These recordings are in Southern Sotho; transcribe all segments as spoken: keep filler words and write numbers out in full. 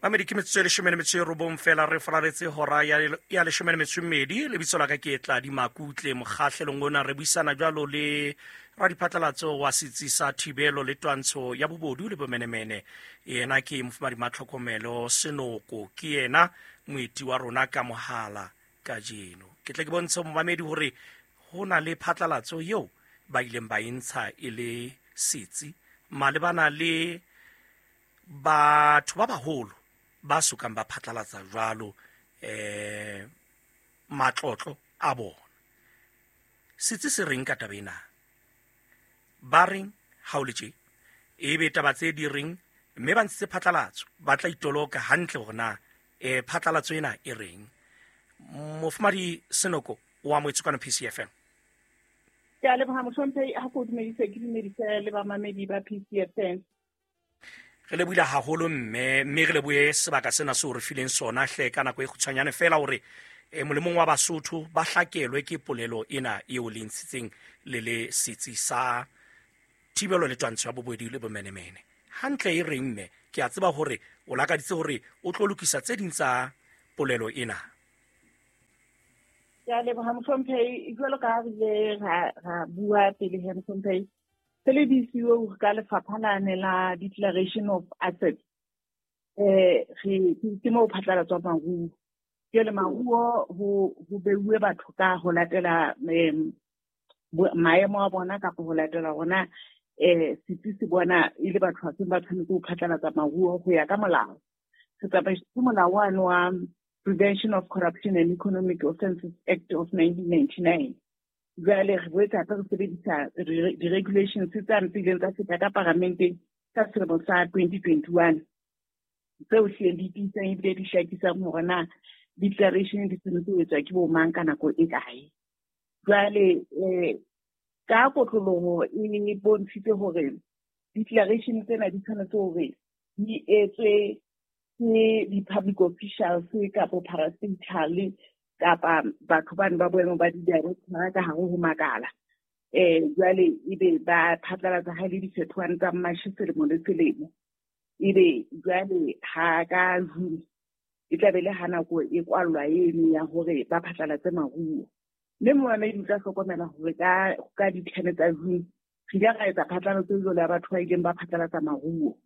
Mamedi ke metsotso e leshome le metso e robong fela re fararetse hora ya ya leshome le metso e mmedi. Lebitso la ka ke Tladi Makutle. Mokgahlelong ona re buisana jwalo le radiphatlalatso wa setsi sa thibelo le twantsho ya bobodu le bomenemene. Yena ke Mofumahadi Matlhokomelo Senoko, ke yena moeti wa rona ka mohala kajeno. Ke tle ke bontshe momamedi hore ho na le phatlalatso eo ba ileng ba e ntsha e le setsi malebana le batho ba baholo ba sokang ba phatlalatsa jwalo eh matlotlo a bona. Setsi se reng ka taba ena? Ba reng ha o le tje? Ebe taba tse di reng, mme ba ntshitse phatlalatso, ba tla itoloka hantle hore na eh phatlalatso ena e reng. Mofumahadi Senoko wa Moetsukano P C F M. Ke a leboha mohlomphehi, ha ke o dumedise, ke dumedise le bamamedi ba P C F M. Re lebohile haholo mme, mme re lebohe sebaka sena seo re fileng sona hle ka nako e kgutshwanyane fela hore eh, molemong wa Basotho ba hlakelwe ke polelo ena eo le ntshitseng le le setsi sa thibelo le twantsho ya bobodu le bomenemene. Hantle e reng mme, ke a tseba hore o lakaditse hore o tlo lokisa tse ding tsa polelo ena. Ke a leboha mohlomphehi, jwalo ka ha re ile ra, ra bua pele he mohlomphehi, se le di siuwe ka lefapha lane la Declaration of Assets. Eh, re, ke moo phatlalatswa maruo. Jwale maruo ho, ho beuwe batho ka ho latela, em, bo-, maemo a bona kapa ho latela hona, eh, setsi se bona e le batho ba seng ba tshwanetse ho phatlalatsa maruo ho ya ka molao. Se tsamaisitse molao wane wa Prevention of Corruption and Economic Offences Act of nineteen ninety-nine. Jwale re boetse hape re sebedisa re-, di-regulations tse tse ileng tsa feta ka paramenteng ka selemo sa twenty twenty-one, tseo hlileng di tiisang ebile di hlakisang hore na declaration di tshwanetse ho etswa ke bo mang ka nako e kae. Jwale, eh, ka kotloloho e bontshitse hore declaration tsena di tshwanetse hore di etswe ke di-public officials kapa parastatal kapa batho bane ba boemo ba di-director ka hare ho makala. Eh, jwale ebe ba phatlalatsa ha e le difetohwane tsa March selemo le selemo. Ebe jwale ha ka June e tla be le ha nako e kwallwa eno ya hore ba phatlalatse maruo. Mme momamedi o tla hlokomela hore ka, ka di-ten tsa June re ile ra etsa phatlalatso jwalo ya batho ba ileng ba phatlalatsa maruo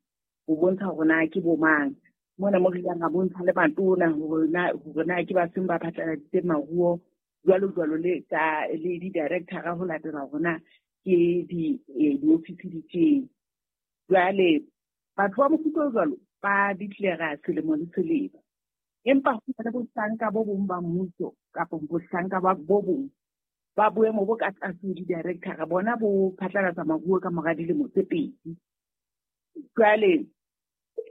ho bontsha hore na ke bo mang. Mona mo re ileng ra bontsha le matona hore na, hore na ke ba seng ba phatlaladitse maruo jwalo jwalo le tsa, le di-director ho latela hore na ke di, eh, di-office di teng. Jwale batho ba mofuta o jwalo ba declare selemo le selemo. Empa ho na le bohlanka bo bong ba mmuso kapa bohlanka ba bo bong ba boemo bo ka tlase ho di-director, bona bo phatlalatsa maruo ka mora dilemo tse pedi. Jwale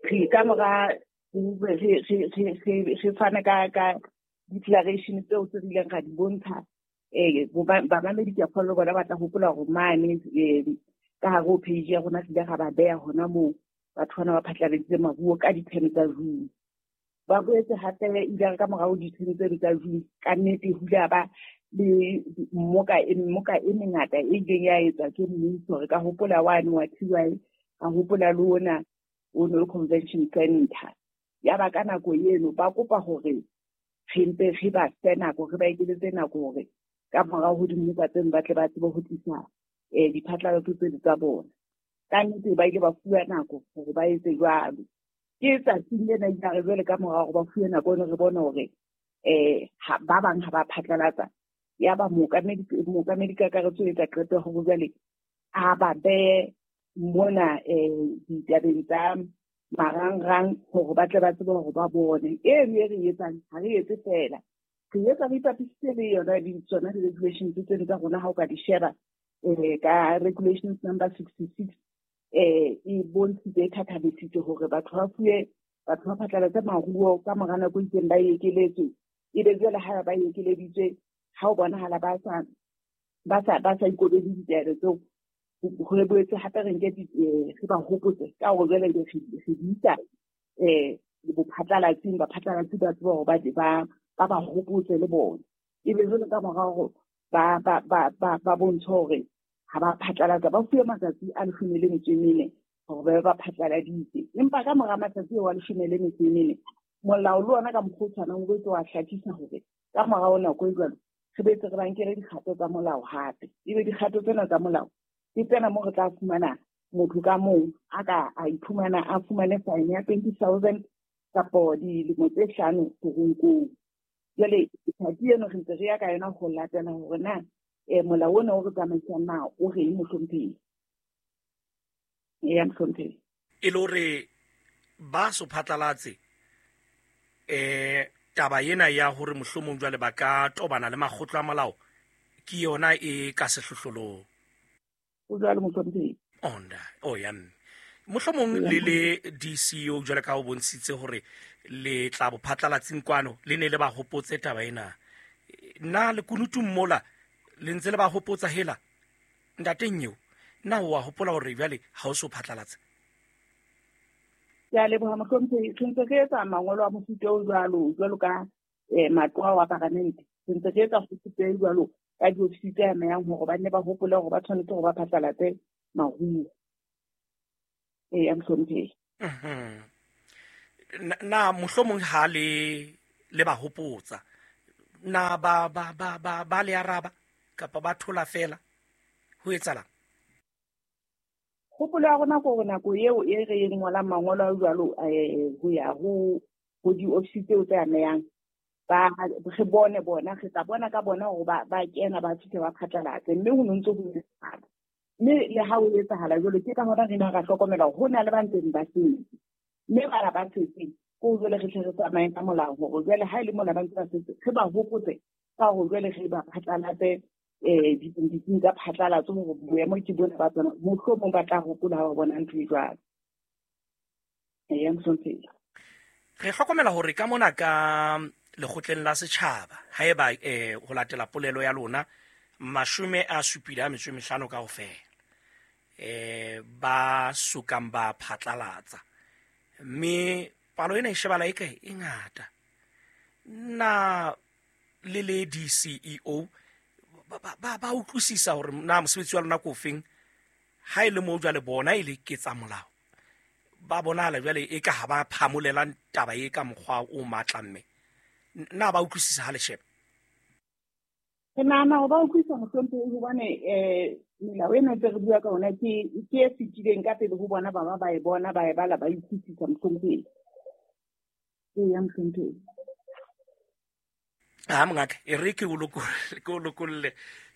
re ka mora re, re, re, re, re, re fana ka, ka declaration tseo tse re ileng ra di bontsha, eh, bo ba, bamamedi ke a kgolwa le bona ba tla hopola hore mane, eh, ka hare ho page ya rona re ile ra ba beha hona moo batho bana ba phatlaladitse maruo ka di-ten tsa June. Ba boetse hape ile re ka morao di-ten tseno tsa June, ka nnete ho ile ha ba le mmoka e, mmoka e mengata e ileng ya etswa ke mmuso. Re ka hopola wane wa T Y, ra hopola le ona o no le convention center. Ya ba ka nako eno ba kopa hore re mpe re ba fe nako, re ba ekeletse nako hore ka morao ho dimmoka tseno ba tle ba tsebe ho tlisa, eh, diphatlalatso tseno tsa bona. Ka nnete ba ile ba fuwa nako hore ba etse jwalo. Ke tsatsing lena ile re jwale ka morao hore ba fuwe nako eno re bone hore, eh, ha, ba bang ha ba phatlalatsa. Ya ba mookamedi, mookamedi kakaretso o etsa qeto ya hore jwale a ba behe mona, eh, ditabeng tsa marangrang hore ba tle ba tsebe hore ba bone. Eno e re e etsang, ha re etse feela. Re etsa re ipapisitse le yona di-, tsona di-regulations tseno tsa rona ha o ka di sheba, eh, ka regulations number sixty-six, eh, e bontshitse, e thathamisitse hore batho ba fuwe, batho ba phatlalatse maruo ka mora nako e itseng ba ekeletswe. Ebe jwale ha ba ekeleditswe, ha o bonahala ba sa, ba sa, ba sa ikobele ditaelo tseo, ho re boetse hape re nke di, eh, re ba hopotse ka hore jwale re, re di isa, eh, bophatlalatsing, baphatlalatsi ba tseba hore ba, ba, ba ba hopotse le bona. Ebe jwale ka mora hore ba, ba, ba, ba, ba bontshe hore ha ba phatlalatsa, ba fuwe matsatsi a leshome le metso e mene hore ba ba phatlaladitse. Empa ka mora matsatsi ao a leshome le metso e mene, molao le ona ka mokgwa o tshwanang o boetse wa hlakisa hore ka morao nako e jwalo re boetse re ba nkele dikgato tsa molao hape. Ebe dikgato tsena tsa molao ke tsena moo re tla fumana motho ka mong a ka a iphumana a fumane fine ya twenty thousand kapo dilemo tse hlano teronkong. Jwale tsatsi eno re ntse re ya ka yona ho latela hore na eh molao ona o re tsamaisang na o reng mohlomphehi. Eya mohlomphehi. E le hore ba so phatlalatse eh taba ena ya hore mohlomong jwale ba ka tobana le makgotla a molao ke yona e ka sehlohlolong. O jwalo mohlomphehi. Onda o ya mme mohlomong le le D C O jwale ka o bontshitse hore le tla bo phatlalatseng kwano le ne le ba hopotse taba ena. Na le kunutung mola le ntse le ba hopotsa hela ntateng eo na o a hopola hore jwale ha o so phatlalatse? Ke a leboha mohlomphehi. Re ntse re etsa mangolo a mofuta o jwalo jwalo ka eh matlo a paramente. Re ntse re etsa mofuta o jwalo ka diofisi tse amehang hore ba nne ba hopole hore ba tshwanetse hore ba phatlalatse maruo. Ee, mohlomphehi. Mhm. Na mohlomong ha le le ba hopotsa na ba ba ba ba ba le araba kapa ba thola fela ho etsalang? Hopolo ya rona ke hore nako eo e re e ngolang mangolo a jwalo eh ho ya ho ho diofisi tseo tse amehang ba re bone bona re tla bona ka bona hore ba ba kena ba fihle ba phatlalatse mme ho ntse ho etsahala. Mme le ha ho etsahala jwalo ke ka hona re na ra hlokomela hore ho na le ba ntseng ba setse. Mme bana ba setseng ko jwale re tle re tsamaye ka molao hore jwale ha e le mona ba ntse ba setse re ba hopotse ka hore jwale re ba phatlalatse eh ditsing tsa phatlalatso hore boemo ke bona ba tsona mohlomong ba tla hopola ha ba bona ntho e jwalo. Eya mohlomphehi. Re hlokomela hore ka mona ka lekgotleng la setjhaba haeba eh ho latela polelo ya lona mashome a supile a metso e mehlano kaofela eh ba sokang ba phatlalatsa mme palo ena e shebala e kae e ngata. Na le le D C E O ba ba ba utlwisisa hore na mosebetsi wa lona ke ofeng ha e le moo jwale bona e le ke tsa molao ba bonahala jwale e ka ha ba phamolelang taba e ka mokgwa o matla mme na ba utlwisisa ha le sheba? Ke nahana hore ba utlwisisa mohlomphehi hobane eh melao ena ntse re bua ka yona ke ke e fetileng ka pele ho bona ba ba ba e bona ba e bala ba utlwisisa mohlomphehi. Eya mohlomphehi. Ha mongaka e re ke o lokolle ke o lokolle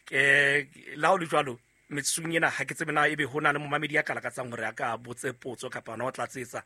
ke la o le jwalo metsotsong ena ha ke tsebe na ebe ho na le momamedi ya ka lakatsang hore a ka botse potso kapa ona o tlatsetsa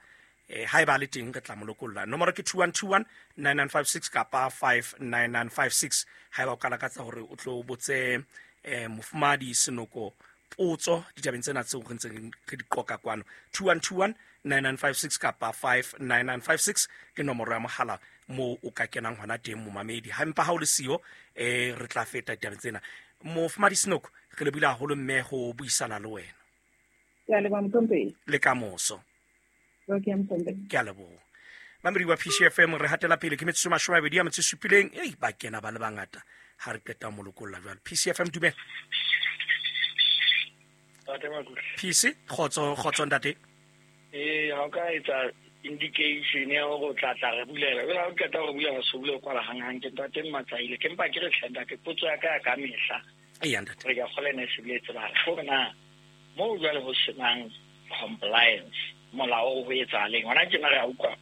eh ha eba le teng re tla mo lokolla. Nomoro ke two one two one nine nine five six kapa five nine nine five six ha eba o ka lakatsa hore o tlo botse eh mofumadi Senoko potso ditabeng tsena tseo re ntseng re di qoka kwano. two one two one nine nine five six kapa five nine nine five six ke nomoro ya mohala mo o ka kenang hona teng momamedi. Ha empa ha o le siyo eh re tla feta ditabeng tsena. Mofumadi Senoko re lebile haholo mme ho buisana le wena. Ke a leboha mohlomphehi. Le kamoso. Okay, mohlomphehi. Ke a leboha. Mamedi wa P C F M re hatela pele ke metsotso mashome a mabedi a metso e supileng. Ei ba kena ba le bangata ha re qeta mo lokolla jwale. P C F M dumela. Ntate Makutle. P C kgotso kgotso ntate. Eh ha o ka etsa indication ya hore o tla tla re bulela. Jwale ha o qeta ho bulela so bule kwala hang hang ke ntate Matsaile. Ke mpa ke re hle ntate potso ya ka ya ka mehla. Eya ntate. Re ka kgola ene se bile tseba hore na mo jwale ho senang compliance molao o etsahaleng hona tjena re a utlwa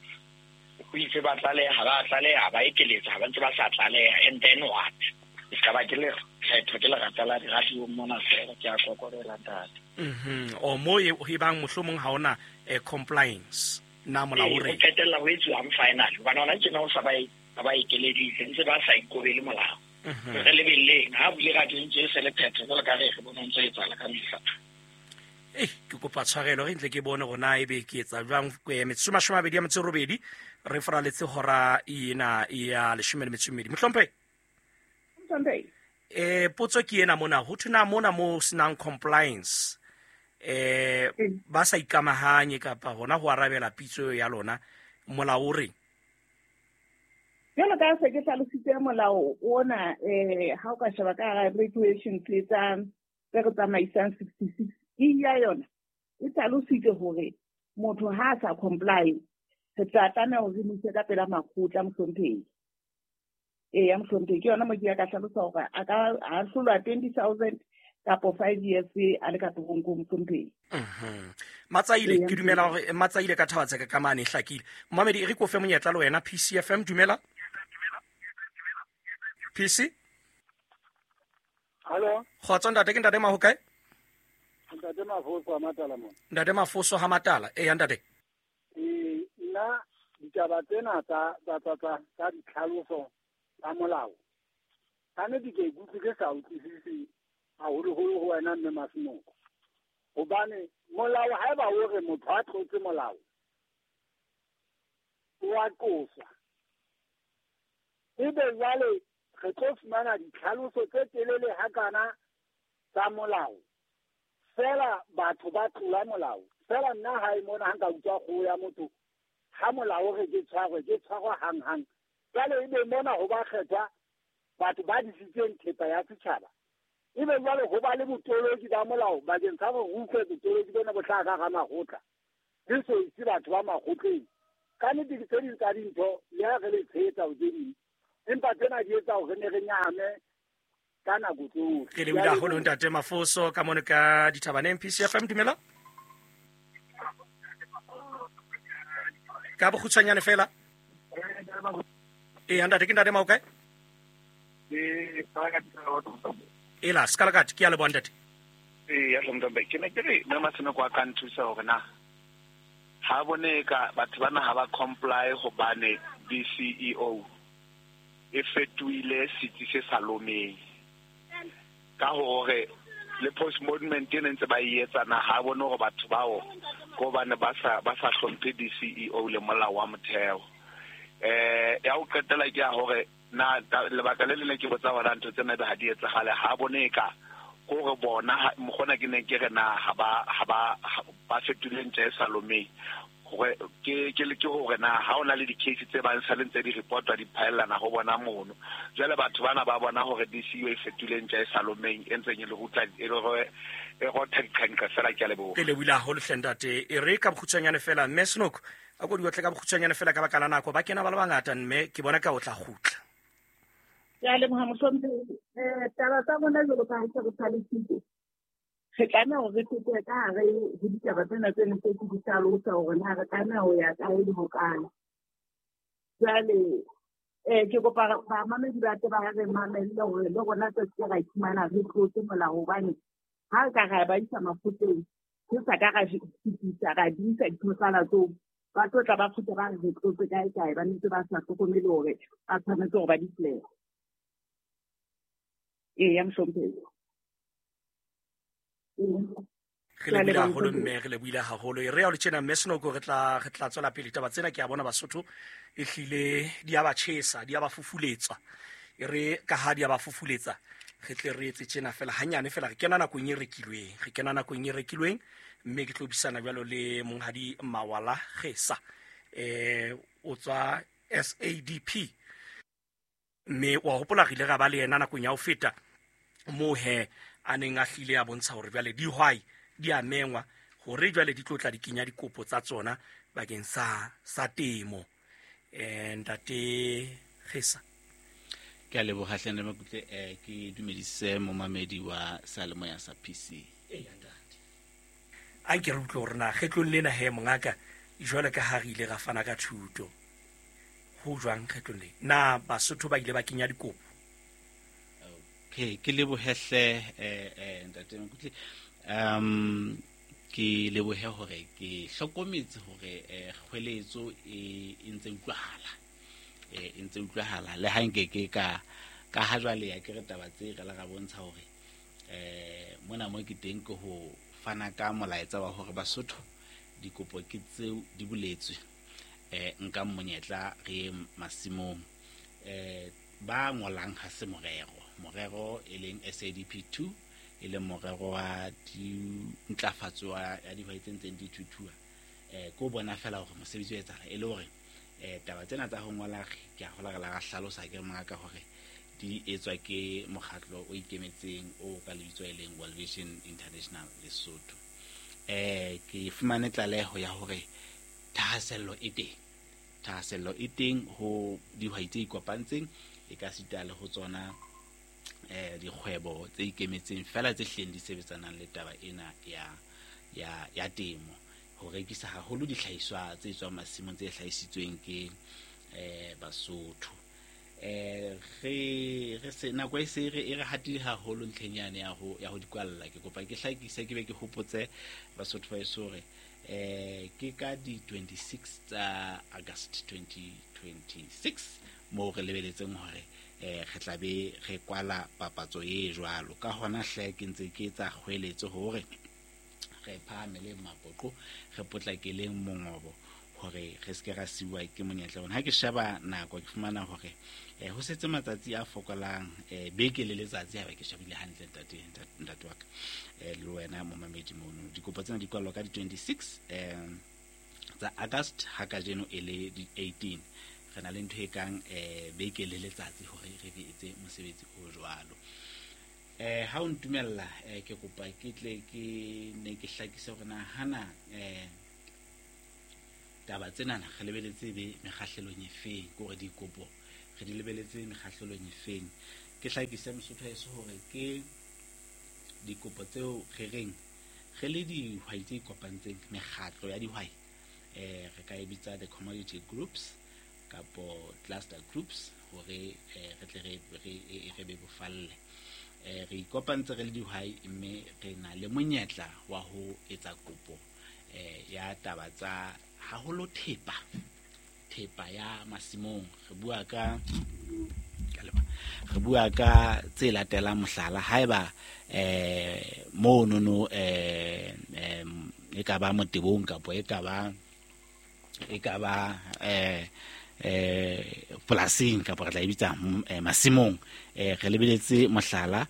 ho itse ba tlaleha ba tlaleha ba ekeletsa ha ba ntse ba sa tlaleha and then what? E ska ba ke le kgetho ke lerata la diradiong mona fela ke a kokorela ntate. Mhm. O mo e bang mohlomong ha ona compliance na molao o re o qetella ho etsuwang final hobane hona tjena o sa ba ba ekeleditse ntse ba sa ikobele molao. Re lebelleng ha bule radio ntse e se le phetho jwalo ka re re bona ntse e etsahala ka mehla. Eh ke kopa tshwarelo re ntle ke bone hore na ebe ke etsa jwang metsotso mashome a mabedi a metso e robedi re faraletse hora ena ya leshome le metso e mmedi. Mohlomphehi. Mohlomphehi. Eh potso ke ena mona ho thwe na mona mo senang compliance eh ba sa ikamahanye kapa hona ho arabela pitso ya lona molao o reng? Jwalo ka se ke hlalositse molao ona eh ha o ka sheba ka hara regulations tse tsa tse re tsamaisang sixty-six e ya yona e hlalositse hore Motho ha a sa comply, re tla tlameha hore re mo ise ka pela makgotla mohlomphehi. Eya mohlomphehi, ke yona mo ke ya ka hlalosa hore a ka ahlolwa twenty thousand kapo five years a le ka toronkong mohlomphehi. Mhm. Matsaile ke dumela hore Matsaile ka thaba tseka ka mane hlakile. Momamedi e re ko fe monyetla le wena P C F M dumela. P C? Hello. Kgotso ntate, ke ntate Maho kae? Ntate Mafoso ha Matala mona. Ntate Mafoso ha Matala. Eya ntate. Eh nna ditaba tsena tsa tsa tsa tsa ditlhaloso tsa molao. Ka nnete ke ikutlwe ke sa utlwisise haholoholo ho wena mme Masenoko. Hobane molao haeba o re motho a tlotse molao o a qoswa. Ebe jwale re tlo fumana ditlhaloso tse telele hakana tsa molao. Fela batho ba tlola molao. Fela nna hae mona ha nka utlwa kgoho ya motho ha molao re ke tshwarwe ke tshwarwa hanghang. Jwale ebe mona ho ba kgethwa batho ba disitseng thepa ya setjhaba. Ebe jwale ho ba le botoloki ba molao bakeng sa hore re utlwe botoloki bona bo hlaha ka hara makgotla. Re so ise batho ba makgotleng. Ka nnete ke tse ding tsa dintho le ha re le tshehetsa ho tse ding. Empa tsena di etsa hore re ne re nyahame ka nako tsohle. Ke lebohile haholo ntate Mafoso ka mono ka dithabaneng. P C F M dumela. Ka bokgutshwanyane fela. Ee ntate, ke ntate Maho kae? Ela Skalakati, ke a leboha ntate. Ee ya hlomphe ke ne ke re mme Masenoko a ka nthusa hore na ha bone ka batho bana ha ba comply hobane D C E O e fetohile setsi se sa lomeng. Ka hore le postmortem e ntse ba e etsa na ha bone hore batho bao ko bane ba sa ba sa hlomphe D C E O le molao wa motheo. Eh ya ho qetela ke ya hore na lebaka le leng ke botsa hore ntho tsena be ha di etsahale ha bone ka hore bona mokgona ke ne ke re na ha ba ha ba ba fetoleng tse sa lomeng hore ke ke le ke hore na ha ona le di-case tse bang sa le ntse di reportwa di phaellana ho bona mono. Jwale batho bana ba bona hore D C U e fetoleng tse sa lomeng e ntseng e le rutla e re e rotha diqhanqa fela. Ke a leboha. Ke lebohile haholo hle ntate. E re ka bokgutshwanyane fela mme Senoko a ko di otle ka bokgutshwanyane fela ka baka la nako ba kena ba le bangata mme ke bona ka o tla kgutla. Ke a leboha mohlomphehi. Eh taba tsa rona jwalo ka ha se re hlalositse, re tlameha hore re fete ka hare ho ditaba tsena tse ne tse ke di hlalosa hore na re tlameha ho ya kae le hokae. Jwale eh ke kopa bamamedi ba tle ba re mamelle hore le rona se ke ra iphumana re tlotse molao hobane ha re ka ra ba isa makgotleng re sa ka ra fetisa ra di isa diphatlalatso ba tlo tla ba kgutla ba re re tlotse kae kae ba ntse ba sa hlokomele hore ba tshwanetse hore ba di declare. Eya mohlomphehi. Re lebohile haholo mme, re lebohile haholo. E re ya o le tjena mme Senoko re tla re tla tswela pele taba tsena ke a bona Basotho e hlile di a ba tjhesa, di a ba fufuletsa. E re ka ha di a ba fufuletsa re tle re etse tjena fela hanyane fela re kena nakong e rekilweng, re kena nakong e rekilweng mme ke tlo buisana jwalo le monghadi Mawala Gesa eh o tswa S A D P mme wa hopola re ile ra ba le yena nakong ya ho feta mo he a neng a hlile a bontsha hore jwale dihwai di a mengwa hore jwale di tlo tla di kenya dikopo tsa tsona bakeng sa sa temo. Eh ntate Gesa, ke a leboha hle ntate Makutle. Eh ke dumedise momamedi wa Salemoya sa P C. Eya ntate, a nke re utlwe hore na kgetlong lena he mongaka jwale ka ha re ile ra fana ka thuto ho jwang kgetlong le na Basotho ba ile ba kenya dikopo? Okay, ke lebohe hle eh eh ntate Makutle. Um ke lebohe hore ke hlokometse hore eh kgweletso e ntse utlwahala. Eh e ntse utlwahala le ha nke ke ka ka ha jwale ya ke re taba tse re la ra bontsha hore eh mona mo ke teng ke ho fana ka molaetsa wa hore Basotho dikopo ke tseo di boletswe eh nka monyetla re masimong. Eh ba ngolang ha se morero morero e leng S A D P two e leng morero wa dintlafatso ya dihwai tse ntseng di thuthuha eh ko bona fela hore mosebetsi o etsahala e le hore eh taba tsena tsa ho ngola ke a hola re la hlalosa ke mongaka hore di etswa ke mokgatlo o ikemetseng o ka lebitso e leng World Vision International Lesotho. Eh ke fumane tlaleho ya hore thahasello e teng. Thahasello e teng ho dihwai tse ikopantseng, e ka sita le ho tsona eh dikgwebo tse ikemetseng fela tse hleng di sebetsanang le taba ena ya ya ya temo, ho rekisa haholo dihlahiswa tse tswang masimong tse hlahisitsweng ke eh Basotho. Eh re re se nako e se re e re hatile haholo ntlheng yane ya ho ya ho dikwalla. Ke kopa ke hlakise ke be ke hopotse Basotho ba heso hore eh ke ka di twenty-six tsa August twenty twenty-six moo re lebeletseng hore eh re tla be re kwala papatso e jwalo. Ka hona hle ke ntse ke etsa kgweletso hore re phahamele mapoqo, re potlakeleng mongobo hore re se ke ra siwa ke monyetla ona. Ha ke sheba nako ke fumana hore eh ho setse matsatsi a fokolang, eh beke le letsatsi ha ba ke shebile hantle ntate ntate wa ka eh le wena momamedi mono. Dikopo tsena di kwalwa ka di twenty-six eh tsa August, ha kajeno e le di eighteen. Re na le ntho e kang eh beke le letsatsi hore re etse mosebetsi o jwalo. Eh ha o ntumella eh ke kopa ke tle ke ne ke hlakise hore na hana eh taba tsena re lebeletse be mekgahlelong e feng, ke hore dikopo re di lebeletse mekgahlelong e feng. Ke hlakise Mosotho heso hore ke dikopo tseo re reng re le dihwai tse ikopantseng, mekgatlo ya dihwai, eh re ka e bitsa the commodity groups kapo cluster groups, hore eh re tle re re re be bofalle. Eh re ikopantse re le dihwai mme re na le monyetla wa ho etsa kopo eh ya taba tsa haholo thepa, thepa ya masimong. Re bua ka re bua ka tse latelang, mohlala haeba eh mono no eh e ka ba motebong kapo e ka ba e ka ba eh eh polasing kapo re tla e bitsa masimong, eh re lebeletse mohlala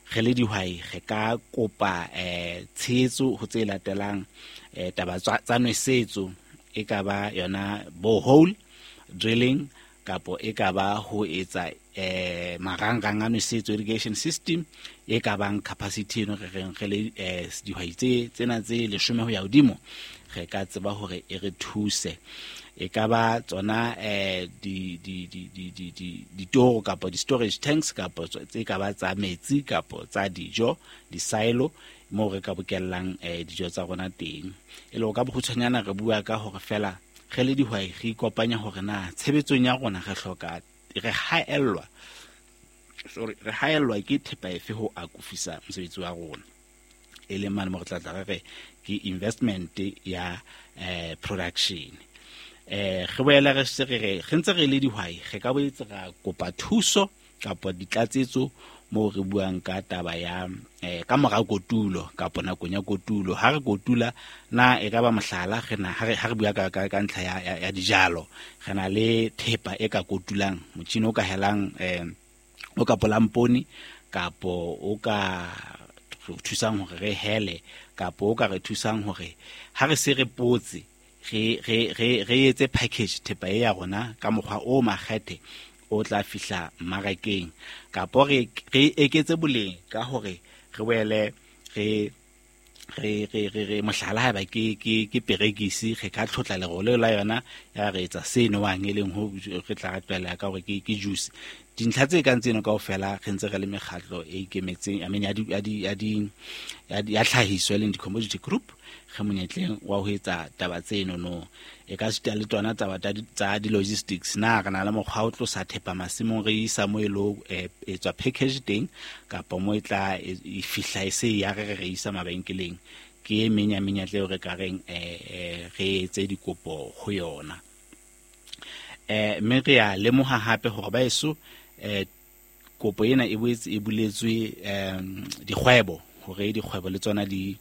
re le dihwai re ka kopa eh tshehetso ho tse latelang, eh taba tsa nwesetso, e ka ba yona borehole drilling kapo e ka ba ho etsa eh marangrang a nwesetso, irrigation system, e ka bang capacity eno re reng re le eh dihwai tse tsena tse leshome ho ya hodimo re ka tseba hore e re thuse. E ka ba tsona eh di di di di di di ditoro kapo di storage tanks kapo tse ka ba tsa metsi kapo tsa dijo, di silo moo re ka bokellang eh dijo tsa rona teng. E le ka bokgutshwanyana re bua ka hore fela re le dihwai re ikopanya hore na tshebetsong ya rona re hloka re haellwa sorry re haellwa ke thepa efe ho akofisa mosebetsi wa rona, e leng mane mo re tla tla re re ke investment ya eh production. Eh re boela re se re re ntse re le dihwai re ka boetse ra kopa thuso kapa ditlatsetso moo re buang ka taba ya eh ka mora kotulo kapa nakong ya kotulo. Ha re kotula na e ka ba mohlala re na ha re ha re bua ka ka ntlha ya ya dijalo, re na le thepa e ka kotulang, motjhini o ka helang eh o ka polang poone kapo o ka thusang hore re hele kapo o ka re thusang hore ha re se re potse re re re re etse package thepa e ya rona ka mokgwa o makgethe o tla fihla mmarakeng, kapo re re eketse boleng ka hore re boele re re re re re mohlala haeba ke ke ke perekisi re ka tlhotla lerole la yona ya re etsa se nowang e leng ho re tla tlwaela ka hore ke ke juice. Dintlha tse kang tseno kaofela re ntse re le mekgatlo e ikemetseng, I mean ya di ya di ya di ya tlhahiso e leng di-commodity group, re monyetleng wa ho etsa taba tseno no. E ka sita le tsona taba tsa di-logistics, na re na le mokgwa o tlosa thepa masimong re isa mo e lo e tswa package teng kapa mo e tla e fihla e se ya re re isa mabenkeleng. Ke e meng ya menyetla eo re ka reng eh re etse dikopo ho yona. Eh mme re a lemoha hape hore ba eso eh kopo ena e boetse e buletswe um dikgwebo hore dikgwebo le tsona di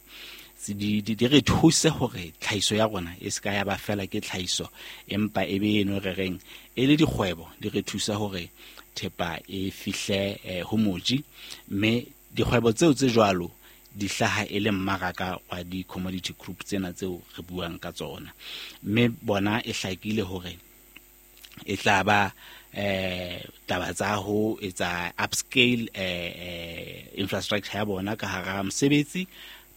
di di re thuse hore tlhahiso ya rona e se ka ya ba fela ke tlhahiso, empa e be eno re reng e le dikgwebo di re thusa hore thepa e fihle ho moji, mme dikgwebo tseo tse jwalo di hlaha e le mmaraka wa di-commodity group tsena tseo re buang ka tsona. Mme bona e hlakile hore e tla ba eh taba tsa ho etsa upscale eh infrastructure ya bona ka hara mosebetsi,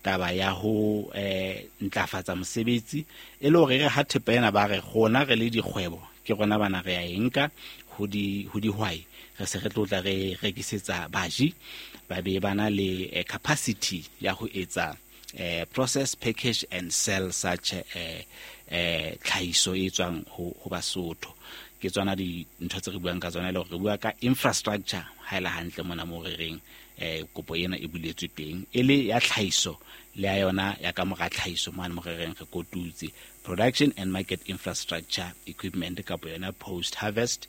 taba ya ho eh ntlafatsa mosebetsi e le hore re ha thepa ena ba re rona re le dikgwebo ke rona bana re ya enka ho di ho dihwai re se re tlotla re rekisetsa baji ba be bana le eh, capacity ya ho etsa eh process, package and sell such eh eh tlhahiso e tswang ho ho Basotho. Ke tsona dintho tse re buang ka tsona, le hore re bua ka infrastructure ha ele hantle mona mo re reng eh kopo ena e buletswe teng e le ya tlhahiso le ya yona ya ka mora tlhahiso mane mo re reng re kotutse production and market infrastructure equipment kapa yona post harvest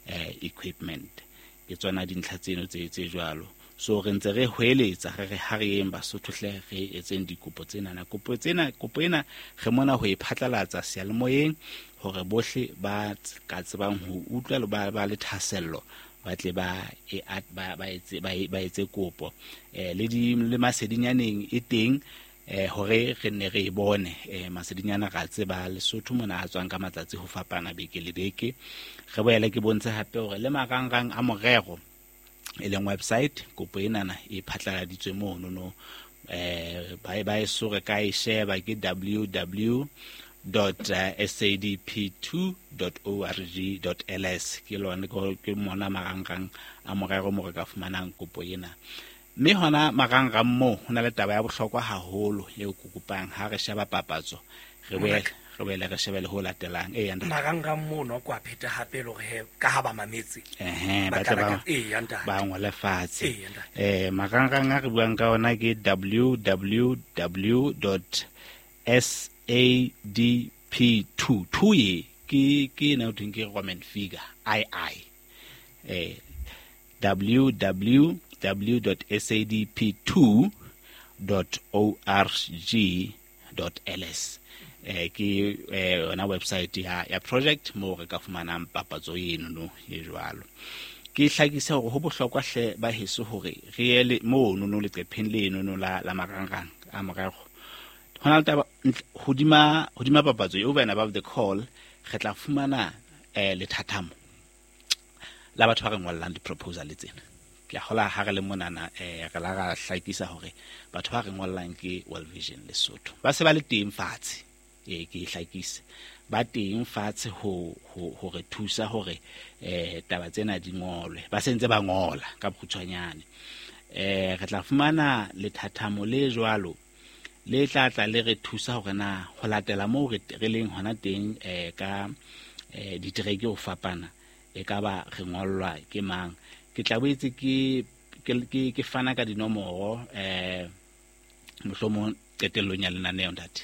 eh equipment. Ke tsona dintlha tseno tse tse jwalo. So re ntse re hweletsa re re ha re yeng Basotho hle re etseng dikopo tsena na kopo tsena kopo ena re mona ho e phatlalatsa seyalemoyeng hore bohle ba ka tsebang ho utlwa le ba ba le thasello ba tle ba e ba ba etse ba ba etse kopo eh le di le masedinyaneng e teng eh hore re nne re e bone eh masedinyana ra tseba Lesotho mona a tswang ka matsatsi ho fapana beke le beke. Re boele ke bontshe hape hore le marangrang a morero e leng website kopo enana e phatlaladitswe mono no eh ba ba e sore ka e sheba ke w w w dot s a d p two dot org dot l s ke lona ke mona marangrang a morero mo re ka fumanang kopo ena. Mme hona marangrang mo ho na le taba ya bohlokwa haholo eo ke kopang ha re sheba papatso re boele re boele re shebe le ho latelang e ya marangrang mono kwa pheta hape le hore ka ha ba mametse ehe ba tla ba e ya ntate ba ngole fatshe eh marangrang a re buang ka ona ke w w w dot s a d p two two e ke ke na o ke Roman figure i i eh w w w dot s a d p two dot org dot l s eh ke yona website ya ya project mo re ka fumanang papatso eno no e jwalo. Ke hlakisa hore ho bohlokwa hle ba heso hore re ye mo no no leqepheng leno no la la marangrang a morero. Hona le taba hodima hodima papatso over and above the call re tla fumana eh lethathamo la batho ba re ngollang di-proposal tsena. Ke a hola ha re le monana eh re la ra hlakisa hore batho ba re ngollang ke World Vision Lesotho ba se ba le teng fatshe e ke hlakise ba teng fatshe ho ho re thusa hore eh taba tsena di ngolwe ba sentse ba ngola ka bokgutshwanyane. Eh re tla fumana lethathamo le jwalo le tla tla le re thusa hore na ho latela moo re re leng hona teng eh ka eh ditereke ho fapana e ka ba re ngollwa ke mang. Ke tla boetse ke ke ke fana ka dinomoro eh mohlomong qetellong ya lenaneo ntate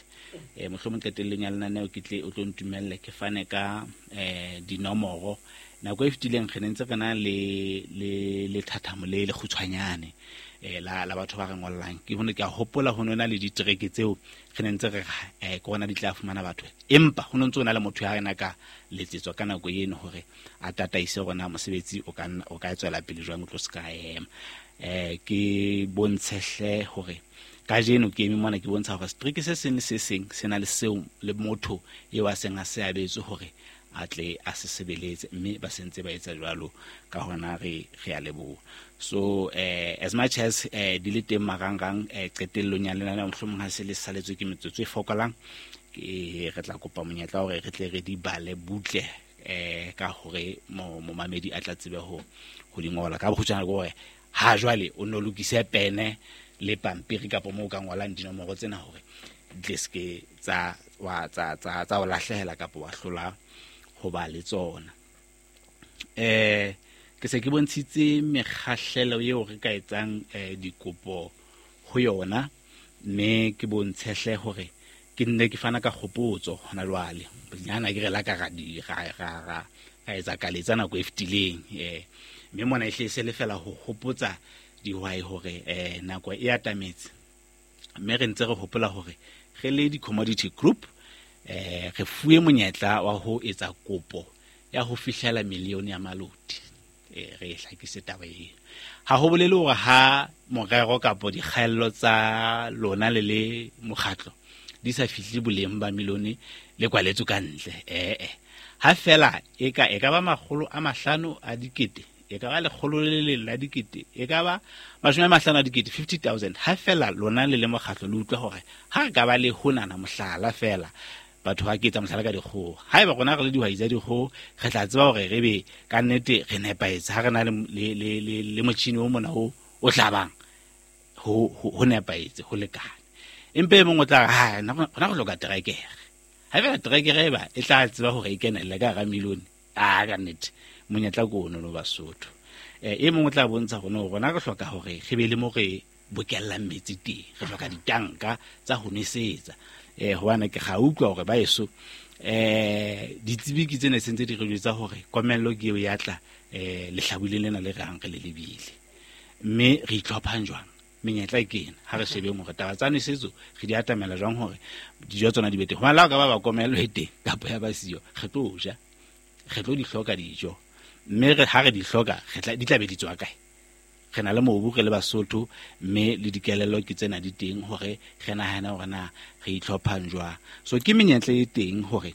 eh mohlomong qetellong ya lenaneo ke tle o tlo ntumelle ke fane ka eh dinomoro. Nako e fetileng re ne ntse re na le le le thathamo le le kgutshwanyane eh la la batho ba re ngollang ke hone ke a hopola ho nona le ditereke tseo re ne ntse re eh ke ona di tla fumana batho empa ho ntse ona le motho ya rena ka letsetswa ka nako eno hore a tataise rona mosebetsi o ka o ka tswela pele jwang o tlo ska ema. Eh ke bontshehle hore kajeno ke eme mona ke bontsha hore strike se seng le se seng se na le seo le motho eo a seng a se abetse hore a tle a se sebeletse mme ba sentse ba etsa jwalo ka hona re re a leboha. So eh as much as eh di le teng marangrang eh qetellong ya lenaneo mohlomong ha se le saletswe ke metsotso e fokolang ke re tla kopa monyetla hore re tle re di bale butle eh ka hore momamedi a tla tsebe ho ho di ngola ka bokgutshwane ke hore ha jwale o no lokise pene le pampiri kapa moo ka ngolang dinomoro tsena hore di ske tsa wa tsa tsa tsa o lahlehela kapa wa hlola ho ba le tsona. Eh ke se ke bontshitse mekgahlelo eo re ka etsang eh dikopo ho yona mme ke bontshehle hore ke nne ke fana ka kgopotso hona jwale bonyana ke re la ka ra di ra ra ra etsa kaletsa nako e fetileng eh mme mona e hle se le fela ho hopotsa dihwai hore eh nako e atametse mme re ntse re hopola hore re le di-commodity group eh re fuwe monyetla wa ho etsa kopo ya ho fihlela milione ya maloti. Eh re hlakise taba eo. Ha ho bolele hore ha morero kapa dikgaello tsa lona le le mokgatlo di sa fihle boleng ba milione le kwaletswe ka ntle eh eh ha fela e ka e ka ba makgolo a mahlano a dikete e ka ba lekgolo le leng la dikete, e ka ba mashome a mahlano a dikete, fifty thousand. Ha fela lona le le mokgatlo le utlwa hore ha re ka ba le honana mohlala fela, batho ba ke etsa mohlala ka dikgoho. Haeba rona re le dihwai tsa dikgoho, re tla tseba hore re be ka nnete re nepahetse ha re na le le le le motjhini o mona o o hlabang, ho ho nepahetse, ho lekane. Empa e mong o tla re, ha rona re hloka terekere. Ha fela terekere e ba e tla tseba hore e kenelle ka hara milione, a ka nnete monyetla ke ono no Basotho. Eh e mong o tla bontsha rona hore rona re hloka hore re be le mo re bokellang metsi teng, re hloka ditanka tsa ho nwesetsa. Eh hobane ke ga utlwa hore ba eso eh ditsebiki tsena se ntse di re jwetsa hore komello ke eo ya tla eh lehlabuleng lena le re hang re le lebile. Mme re itlhophang jwang? Menyetla ke ena, ha re shebeng hore taba tsa nwesetso re di atamela jwang hore dijo tsona di be teng. Hobane le ha o ka ba ba komello e teng kapa ya ba siyo, re tlo ja, re tlo di hloka dijo. Mme re ha re di hloka, re tla di tla be di tswa kae? Re na le mobu re le Basotho, mme le dikelello ke tsena di teng hore re nahane hore na re itlhophang jwang. So ke menyetla e teng hore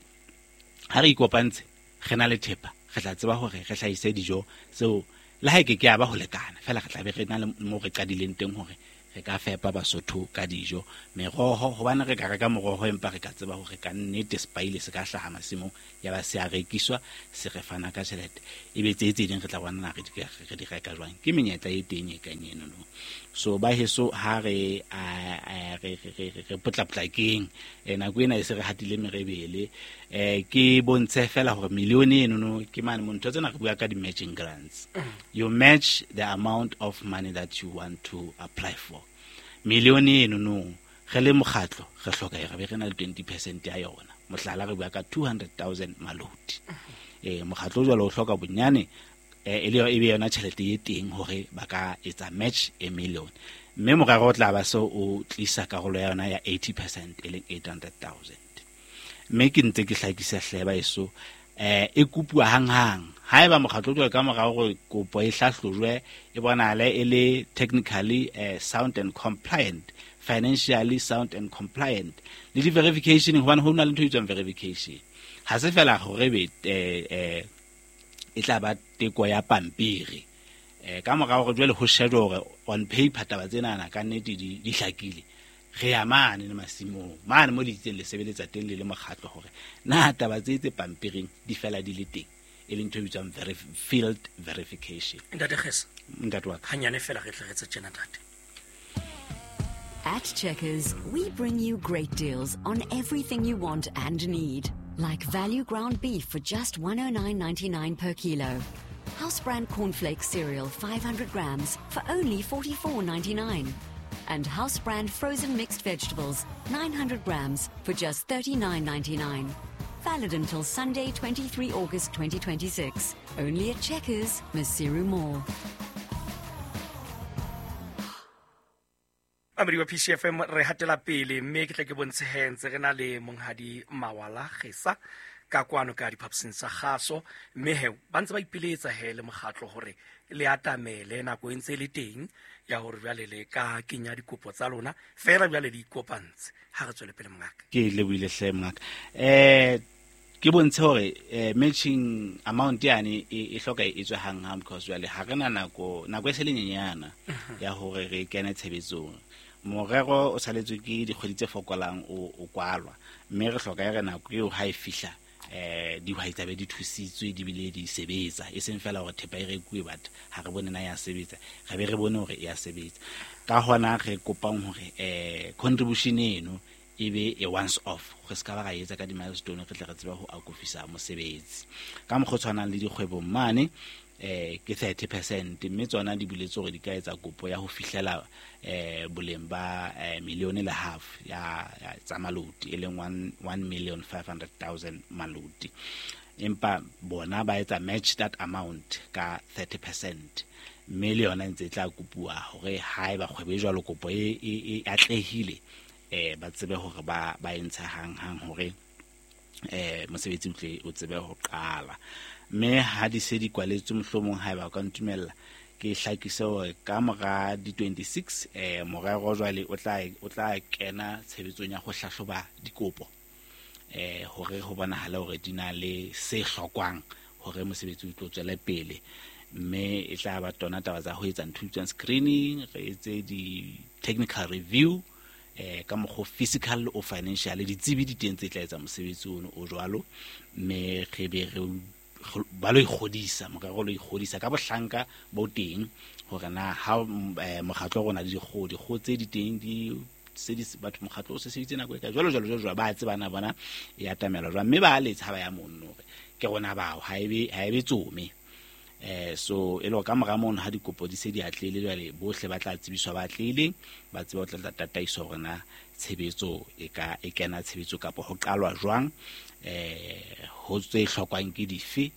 ha re ikopantse, re na le thepa, re tla tseba hore re hlahise dijo tseo le ha e ke ke ya ba ho lekana, fela re tla be re na le mo re qadileng teng hore re ka fepa Basotho ka dijo. Meroho, hobane re ka reka moroho empa re ka tseba hore ka nnete sepaile se ka hlaha masimong, ya ba se a rekiswa, se re fana ka tjhelete. Ebe tse tse ding re tla bona na re di re di reka jwang. Ke menyetla e teng e kang eno no. So ba heso ha re re re re potlapotlakeng, nako ena e se re hatile merebele. Eh ke bontshe fela hore milione eno no ke mane mo ntho tsena re bua ka di matching grants. You match the amount of money that you want to apply for. Milione eno no re le mokgatlo re hloka e re be re na le twenty percent ya yona. Mohlala re bua ka two hundred thousand maloti. Eh mokgatlo jwalo o hloka bonyane e le e be yona tjhelete e teng hore ba ka etsa match a million. Mme morero o tla ba so o tlisa karolo ya yona ya eighty percent e leng eight hundred thousand. Mme ke ntse ke hlakisa hle ba eso eh e kopuwa hanghang. Haeba mokgatlo jwalo ka morao hore kopo e hlahlojwe e bonahale e le technically eh, sound and compliant, financially sound and compliant, le di verification, hobane ho na le ntho e bitswang verification. Ha se fela hore be eh, eh, e tla ba teko ya pampiri. Eh ka morao hore jwale ho shejwe hore on paper taba tsena ka nnete di di hlakile. Re ya mane le masimong mane mo le itseng le sebeletsa teng le le mokgatlo hore na taba tse tse pampiring di fela di le teng, e leng ntho e bitswang field verification. Ntate Kgesa, ntate wa ka, hanyane fela re tle re tse tjena ntate. At Checkers, we bring you great deals on everything you want and need. Like value ground beef for just one oh nine ninety-nine per kilo. House brand cornflakes cereal five hundred grams for only forty-four ninety-nine. And house brand frozen mixed vegetables nine hundred grams for just thirty-nine ninety-nine. Valid until Sunday, twenty-three August twenty twenty-six. Only at Checkers, Maseru Mall. Amedi wa P C F M re hatela pele mme ke tle ke bontshe he ntse re na le monghadi Mawala Kgesa ka kwano ka diphaposing tsa kgaso, mme he ba ntse ba ipiletsa he le mokgatlo hore le atamele nako e ntse e le teng ya hore jwale le ka kenya dikopo tsa lona fela jwale le ikopantse. Ha re tswele pele mongaka. Ke lebohile hle mongaka. Eh ke bontshe hore matching amount yane e hloka e tswe hang hang because jwale ha re na nako nako e se le nyenyana ya hore re kene tshebetsong. Morero o saletswe ke dikgwedi tse fokolang o o kwalwa, mme re hloka e re nako eo ha e fihla eh dihwai tsa be di thusitswe di bile di sebetsa, e seng fela hore thepa e rekuwe but ha re bone na ya sebetsa, re be re bone hore e ya sebetsa. Ka hona re kopang hore eh contribution eno e be a once off, re ska ba ra etsa ka di milestone, re tle re tsebe ho akofisa mosebetsi. Ka mokgwa o tshwanang le dikgwebong mane eh ke thirty percent, mme tsona di buletse hore di ka etsa kopo ya ho fihlela eh boleng ba million le half ya tsa maloti, e leng one million five hundred thousand maloti. Empa bona ba etsa match that amount ka thirty percent, mme le yona ntse e tla kopuwa hore haeba kgwebo e jwalo kopo e e atlehile eh ba tsebe hore ba ba entsha hang hang hore eh mosebetsi o tle o tsebe ho qala. Mme ha di se di kwaletswe mohlomong haeba o ka ntumella ke hlakise hore ka mora di twenty-six eh morero jwale o tla o tla kena tshebetsong ya ho hlahloba dikopo eh hore ho bonahale hore di na le se hlokwang hore mosebetsi o tlo tswele pele. Mme e tla ba tona taba tsa ho etsa ntho tsa screening, re etse di technical review eh ka mokgo physical o financial ditsebi di teng tse tla etsa mosebetsi ono o jwalo, mme re be re ba lo ikgodisa morero lo ikgodisa ka bohlanka bo teng hore na ha mokgatlo rona le dikgoho dikgoho tse di teng di se di batho mokgatlo o se sebeditse nako e ka jwalo jwalo jwalo ba tsebana bona e atamela jwang, mme ba letsa ba ya monno hore ke rona bao ha ebe ha ebe tsome. Eh so e lo ka mora mono ha dikopo di se di atlehile jwale bohle ba tla tsebiswa ba atlehileng ba tseba ho tla tataiso hore na tshebetso e ka e kena tshebetso kapa ho qalwa jwang, eh ho tse hlokwang ke dife,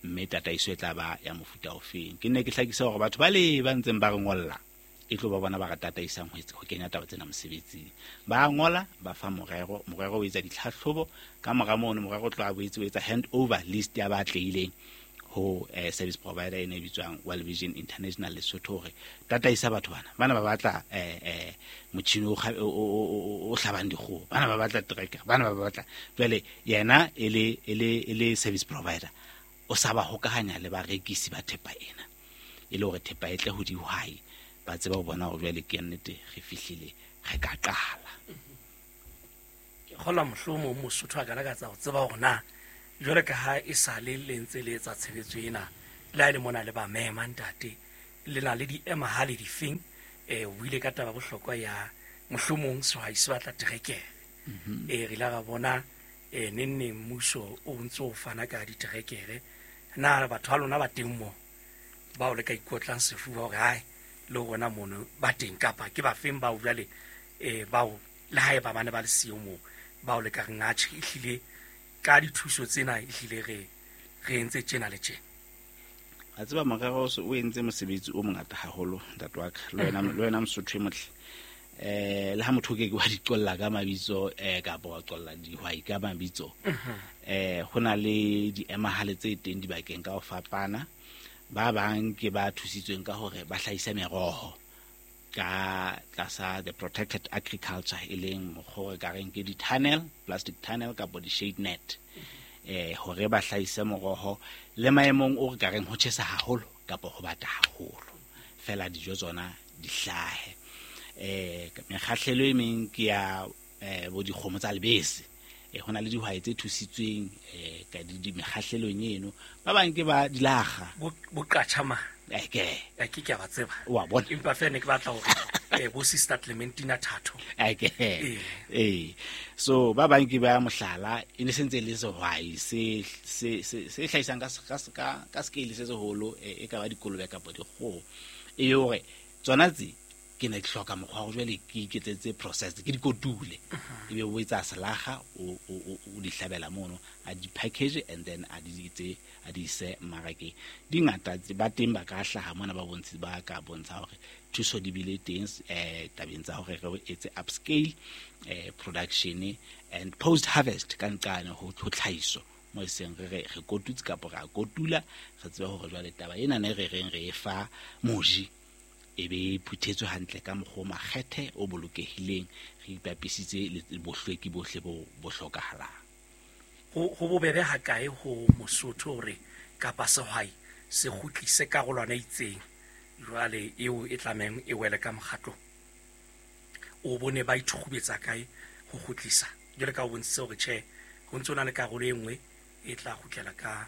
mme tataiso e tla ba ya mofuta ofeng. Ke nne ke hlakisa hore batho ba le ba ntseng ba re ngolla e tlo ba bona ba re tataisang ho etsa ho kenya taba tsena mosebetsing. Ba ngola ba fa morero, morero o etsa ditlhahlobo, ka mora mono morero o tlo a boetse o etsa hand over list ya ba atlehileng ho eh, service provider ene e bitswang World Vision International Lesotho hore tataisa batho bana bana ba batla eh eh motjhini o o hlabang dikgoho, bana ba batla tracker, bana ba batla jwale yena e le e le e le service provider o sa ba hokahanya le barekisi ba thepa ena e le hore thepa e tle ho dihwai ba tseba ho bona hore jwale ke nnete re fihlile re ka qala. Ke kgola mohlomong Mosotho a ka lakatsa ho tseba hore na jwale ka ha e sa le le ntse le etsa tshebetso ena le ha e le mona le ba mema ntate le na le diemahale difeng, eh o ile ka taba bohlokwa ya mohlomong sehwai se batla terekere. Eh re la ra bona eh nenne mmuso o ntse o fana ka diterekere, na batho ba lona ba teng mo bao le ka ikotlang sefuba hore hai le rona mono ba teng kapa ke ba feng bao jwale eh bao le hae ba bane ba le siyo mo bao le ka reng atjhe ehlile ka dithuso tsena ehlile re re entse tjena le tjena. A tseba morero o entse mosebetsi o mongata haholo ntate wa ka le wena le wena Mosotho e motle. Eh le ha motho ke ke wa di qolla ka mabitso eh kapa wa qolla dihwai ka mabitso, eh ho na le diemahale tse teng dibakeng ka ho fapana. Ba bang ke ba thusitsweng ka hore ba hlahise meroho ka tlasa the protected agriculture e leng mokgwa ka reng ke di-tunnel, plastic tunnel kapa di-shade net, eh hore ba hlahise moroho le maemong o re ka reng ho tjhesa haholo kapa ho bata haholo fela dijo tsona di hlahe. Eh mekgahlelo e meng ke ya eh bo dikgomo tsa lebese, eh hona le dihwai tse thusitsweng eh ka di mekgahlelong eno, ba bang ke ba dilaga bo qatjha ma eke ke ke a ba tseba wa bona, empa fela ne ke batla hore eh bo sister Clementina Thato eke eh so ba bang ke ba mohlala e ne sentse le sehwai se se se hlahisang ka ka ka scale se seholo e ka ba dikolobe kapa dikgoho e hore tsona tse ke ne ke hloka mokgwa wa jwale ke iketsetse process ke dikotule ebe o etsa selaga o o o di hlabela mono a di package and then a di itse a di ise mmarakeng. Dingata ba teng ba ka hlaha mona ba bontshi ba ka bontsha hore thuso di bile teng eh tabeng tsa hore re etse upscale eh production and post harvest ka nqane ho tlhahiso mo seng re re re kotutse kapa ra kotula re tsebe hore jwale taba ena ne re reng re e fa moji e be phuthetswe hantle ka mokgwa o makgethe o bolokehileng re ipapisitse le bohlweki bohle bo bo hlokahalang. Ho ho bobebe ha kae ho Mosotho hore kapa sehwai se kgutlise karolwana e itseng jwale eo e tlamehang e wele ka mokgatlong, o bone ba ithukgubetsa kae ho kgutlisa jwale ka o bontshitse hore tjhe ho ntse ho na le karolo e nngwe e tla kgutlela ka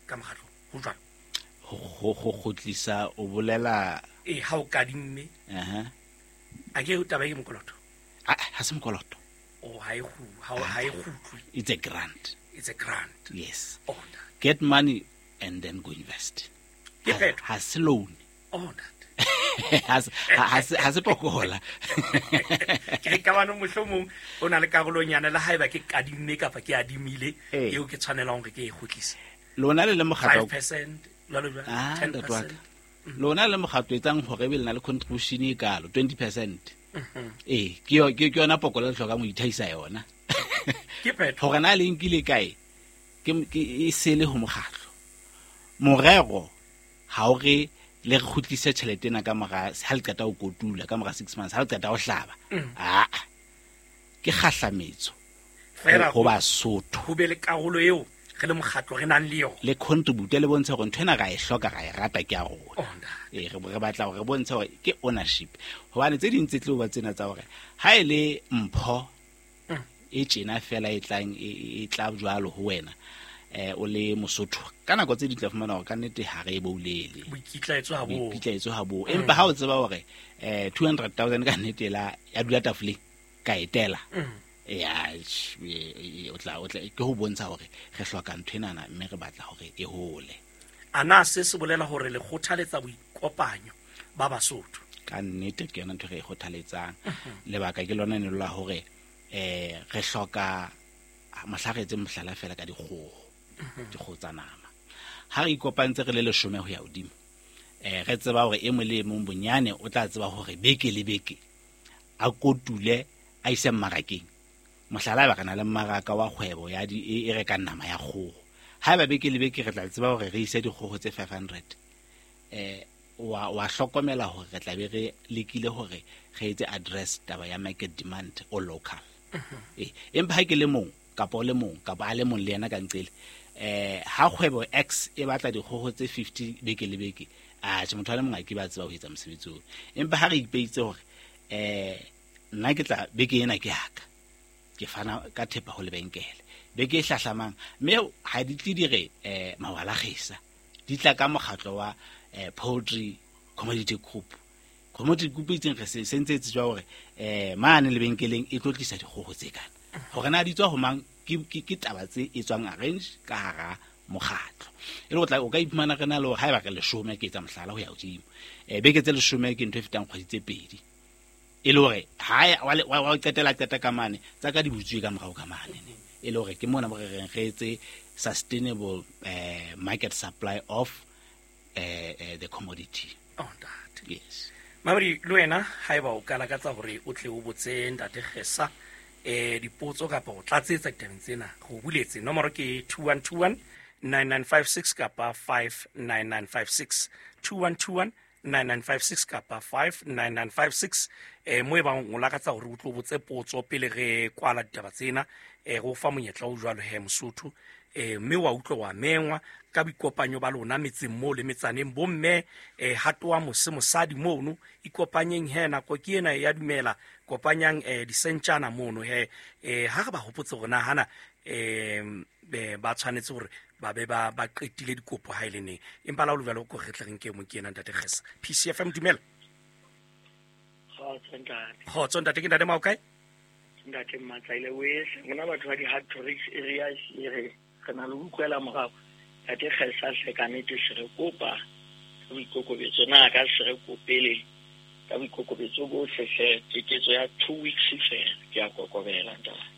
ka mokgatlong ho jwalo? Ho ho kgutlisa o bolela e ha o kadimme aha a ke o taba e mokoloto a ha se mokoloto o ha e kgu ha ha e kgutlwe, it's a grant, it's a grant, yes. Oh, get money and then go invest. Ke phetho ha se loan. Oh that ha ha ha se pokola ke ka bana mohlomong o na le karolonyana le haeba ke kadimme kapa ke adimile eo ke tshwanelang hore ke e kgutlise. Lona le le mokgatlo five percent jwalo jwalo ten percent lona le mokgatlo etsang hore be le na le contribution e kalo twenty percent. Eh ke ke yona pokola le hlokang ho ithaisa yona ke phetho hore na le nkile kae ke ke e sele ho mokgatlo. Morero ha o re le re kgutlise tjhelete ena ka mora ha le qeta ho kotula ka mora six months ha le qeta ho hlaba, a ke kgahlametso fela ho Basotho ho be le karolo eo re le mokgatlo re nang le yona. Le contribute le bontshe hore ntho ena ra e hloka ra e rata ke ya rona. Eh re re batla hore re bontshe hore ke ownership. Hobane tse ding tse tlo ba tsena tsa hore ha e le mpho e tjena fela e tlang e tla jwalo ho wena eh o le Mosotho ka nako tse di tla fumana hore ka nnete ha re e boulele boikitlaetso ha bo boikitlaetso ha bo empa ha o tseba hore eh two hundred thousand ka nnete la ya dula tafoleng ka etela ya o tla o tla ke ho bontsha hore re hloka ntho enana mme re batla hore e hole. Ana se se bolela hore le kgothaletsa boikopanyo ba Basotho? Ka nnete ke yona ntho re e kgothaletsang. Lebaka ke lona ne la hore eh re hloka mohla re etse mohlala fela ka dikgoho dikgoho tsa nama. Ha re ikopantse re le leshome ho ya hodimo eh re tseba hore e mong le mong bonyane o tla tseba hore beke le beke a kotule a ise mmarakeng. Mohlala ba kana le mmaraka wa kgwebo ya di e rekang nama ya kgoho. Haeba beke le beke re tla tseba hore re ise dikgoho tse five hundred eh wa wa hlokomela hore re tla be re lekile hore re etse address taba ya market demand o local. Eh empa ha ke le mong kapa o le mong kapa a le mong le yena ka nqele eh ha kgwebo X e batla dikgoho tse fifty beke le beke a tjhe motho a le mong a ke ba tseba ho etsa mosebetsi oo. Empa ha re ipeitse hore eh nna ke tla beke ena ke haka ke fana ka thepa ho lebenkele beke e hlahlamang mme ha di tle di re eh mawala kgesa di tla ka mokgatlo wa eh poultry commodity group. Commodity group e itseng re se sentse tswa hore eh mane lebenkeleng e tlo tlisa dikgoho tse kana hore na di tswa ho mang ke ke taba tse e tswang arrange ka hara mokgatlo. E le o tla o ka iphumana re na le hore haeba re leshome ke etsa mohlala ho ya hodimo eh beke tse leshome ke ntho e fetang kgwedi tse pedi e le hore ha wa wa qetela qeta ka mane tsa ka di butswe ka morao ka mane ne e le hore ke mona mo re reng re etse sustainable eh market supply of eh, eh the commodity. Oh ntate. Yes. Mamedi le wena haeba o ka lakatsa hore o tle o botse ntate Kgesa eh dipotso kapa o tlatsetsa ditabeng tsena go buletse nomoro ke two one two one nine nine five six kapa five nine nine five six two one two one nine nine five six kapa five nine nine five six eh mo e bang o lakatsa hore o tlo botse potso pele re kwala ditaba tsena eh go fa monyetla o jwalo he Mosotho eh mme wa utlwa wa mengwa ka boikopanyo ba lona metseng mo le metsaneng bomme eh hatoa mose mosadi mono ikopanyeng he nako ke ena ya dumela kopanyang eh disentjana mono he eh ha re ba hopotse rona hana eh ba tshwanetse hore ba be ba ba qetile dikopo ha ile neng empa la o luvalo ko retleng ke mo ke ena ntate Kgesa. P C F M dumela. Kgotso ntate. Kgotso ntate ke ntate Maokae? Ntate Matsaile wese ngona batho ba di hard to reach areas e re re na le utlwela morao. Ntate Kgesa hle ka nnete se re kopa ka boikokobetso na ka se re kopele ka boikokobetso bohle hle keketso ya two weeks fela ke a kokobela ntate.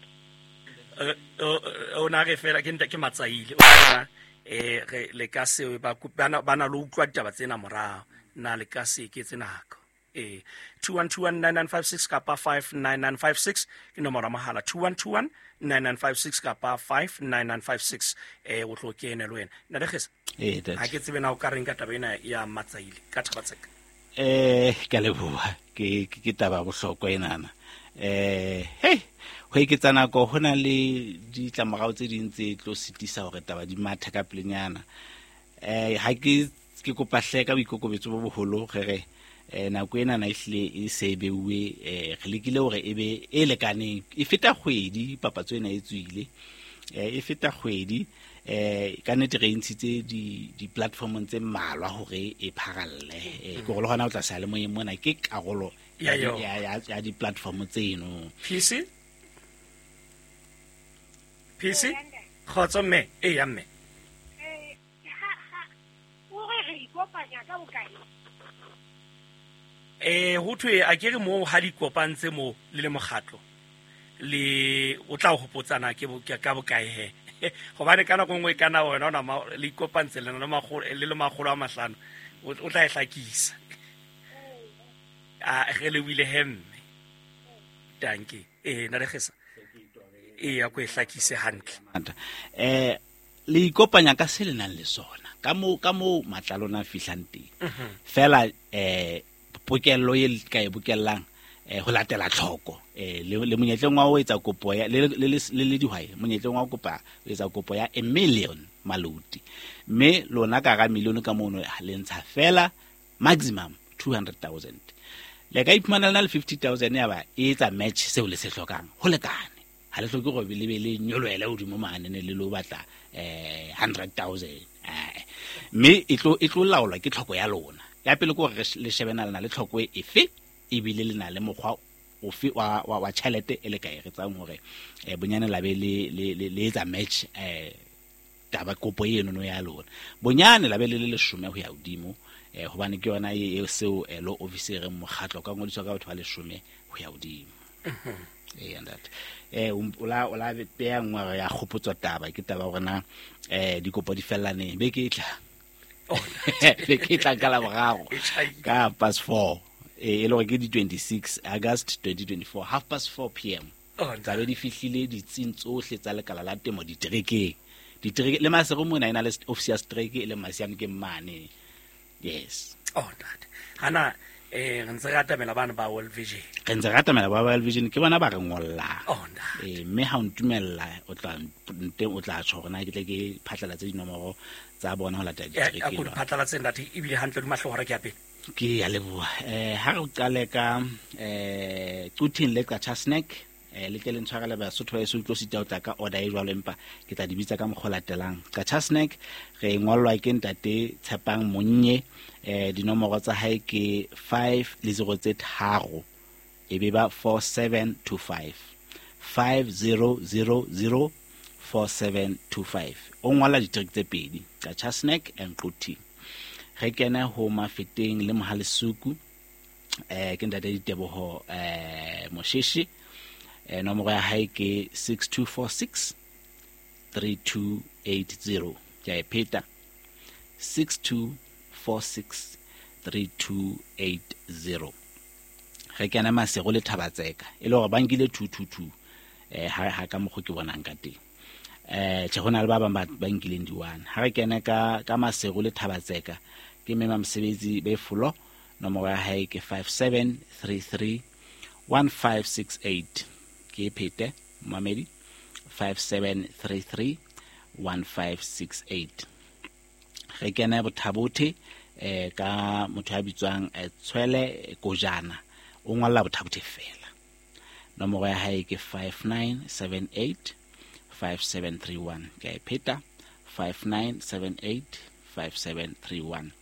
O na re fela ke ntate ke Matsaile o eh re le ka se ba bana bana lo utlwa ditaba tsena morao na le ka se ke tsena nako eh two one two one nine nine five six kapa five nine nine five six ke nomoro ya mohala two one two one nine nine five six kapa five nine nine five six eh o tlo kene le wena nna le Kgesa eh that ha ke tsebe na o ka reng ka taba ena ya Matsaile ka Thabatseka. Eh ke leboha ke ke taba bohlokwa enana eh hey ho eketsa nako ho na le ditlamorao tse ding tse tlo sitisa hore taba di mathe ka pelenyana eh ha ke ke kopa hle ka boikokobetso bo boholo re re eh nako ena na ehlile e se beuwe eh re lekile hore e be e lekaneng e feta kgwedi papatso ena e tswile eh e feta kgwedi eh ka nnete re ntshitse di di platformong tse mmalwa hore e pharalle eh ke gore le hona o tla sa le moyeng mona ke karolo ya ya ya di platform tseno. P C P C kgotso mme e ya mme eh ha ha o re re ikopanya ka bokae eh ho thwe a ke re mo ha di kopantse mo le le mokgatlo le o tla hopotsana ke ka bokae he hobane ka nako nngwe kana wena ona le ikopantse le le magolo le le magolo a mahlano o tla e hlakisa a re le wile hemme danke eh na re gesa e ya go e hlakise hantle eh le ikopanya ka se le nang le sona ka mo ka mo matla lona fihlang teng fela eh pokello e ka e bokellang eh ho latela tlhoko eh le monyetleng wa ho etsa kopo ya le le le dihwai monyetleng wa ho kopa ho etsa kopo ya a million maluti mme lona ka ga million ka mono le ntsha fela maximum two hundred thousand le ka iphumana le fifty thousand ya ba e etsa match seo le se hlokang ho lekane ha le hloke go be le be le nyoloela hodimo mane ne le lo batla eh hundred thousand eh mme e tlo e tlo laolwa ke tlhoko ya lona ya pele ke gore le shebena lena le tlhoko efe ebile le na le mokgwa ofe wa wa wa tjhelete e le ka e retsang hore bonyane la be le le le etsa match eh taba kopo eno no ya lona bonyane la be le le leshome ho ya hodimo eh hobane ke yona e seo lo officer mokgatlo ka ngodiswa ka batho ba leshome ho ya hodimo eh and that eh ola ola beya ngwe ya kgopotso taba ke taba hore na eh dikopo di fellane be ke tla be ke tla ka la boraro ka past four e le hore ke di twenty-six August twenty twenty-four half past four p m tsa be di fihlile ditsing tsohle tsa lekala la temo diterekeng ditereke le Maseru mona ena le office ya strike e le Masiam ke mane yes oh that hana eh re ntse re atamela bana ba World Vision re ntse re atamela ba World Vision ke bona ba re ngollang oh that eh mme ha o ntumella o tla nte o tla tjho hore na ke tle ke phatlalatse dinomoro tsa bona ho latela ditereke a ko di phatlalatse ntate ebile hantle di mahlo hore ke ya pele ke ya leboha eh ha re qale ka eh Quthing le Qacha Snack eh le tle le ntshwarele Basotho ba eso tlo sita o tla ka order e jwalo empa ke tla di bitsa ka mokgwa latelang Qacha Snack re ngolwa ke ntate Tshepang Monnye eh dinomoro tsa hae ke five le zero tse tharo e be ba four seven two five five zero zero zero four seven two five o ngola ditrick tse pedi Qacha Snack and Quthing re kene ho Mafeteng le Mohalesuku eh ke ntate Diteboho eh Mosheshi eh nomoro ya hae ke six two four six three two eight zero ke a e pheta six two four six three two eight zero re kene Maseru le Thabatseka e le hore ba nkile two two two eh ha ha ka mokgo ke bonang ka teng eh tjhe hona le ba bang ba nkileng di one ha re kene ka ka Maseru le Thabatseka ke mema mosebetsi be folo nomoro ya hae ke five seven three three one five six eight ke phete mamedi five seven three three one five six eight re kene Bothabothe eh ka motho ya bitswang Tshwele Kojana o ngolla Bothabothe fela nomoro ya hae ke five nine seven eight five seven three one ke a pheta five nine seven eight five seven three one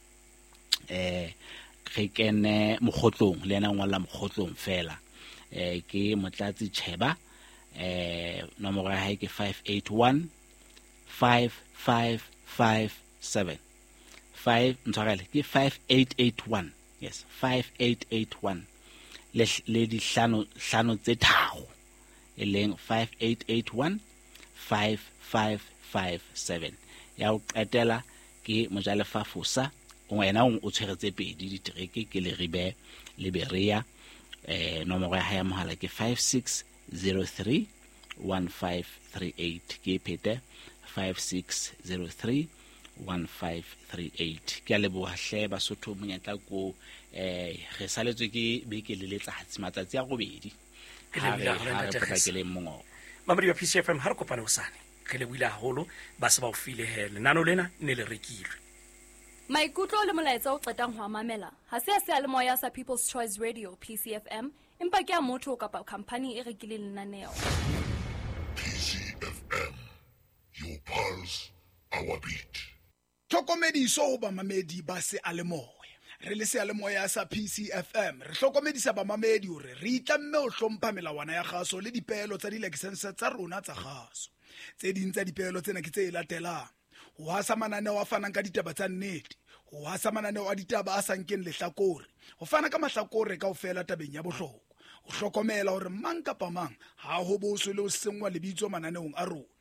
eh re kene Mokgotlong le yena ngolla Mokgotlong fela eh ke Motlatsi Cheba eh nomoro ya hae ke five eight one five five five seven five ntshwarele ke five eight eight one yes five eight eight one le le dihlano hlano tse tharo e leng five eight eight one five five five seven ya o qetela ke Mojalefa Fosa wena o tshwere tse pedi ditereke ke Leribe le Berea eh nomoro ya hae ya mohala ke five six zero three one five three eight ke phete five six zero three one five three eight ke a leboha hle Basotho monyetla ko eh re saletswe ke beke le letsatsi matsatsi a robedi ha re potlakele mongo Mamedi wa P C F M ha re kopane hosane re lebohile haholo ba se ba o file he lenano lena ne le rekilwe Maikutlo le molaetsa o qetang ho a mamela ha se a seyalemoya sa People's Choice Radio P C F M empa ke a motho kapa company e rekileng lenaneo P C F M, your pulse, our beat. Tlhokomediso ho bamamedi ba seyalemoya re le seyalemoya sa P C F M re hlokomedisa bamamedi hore re itlamme ho hlompha melawana ya kgaso le dipeelo tsa dilakesense tsa rona tsa kgaso tse ding tsa dipeelo tsena ke tse latelang ho hasa mananeo a fanang ka ditaba tsa nnete ho hasa mananeo a ditaba a sa nkeng lehlakore ho fana ka mahlakore kaofela tabeng ya bohlokwa ho hlokomela hore mang kapa mang ha ho boswe le ho senngwa lebitso mananeong a rona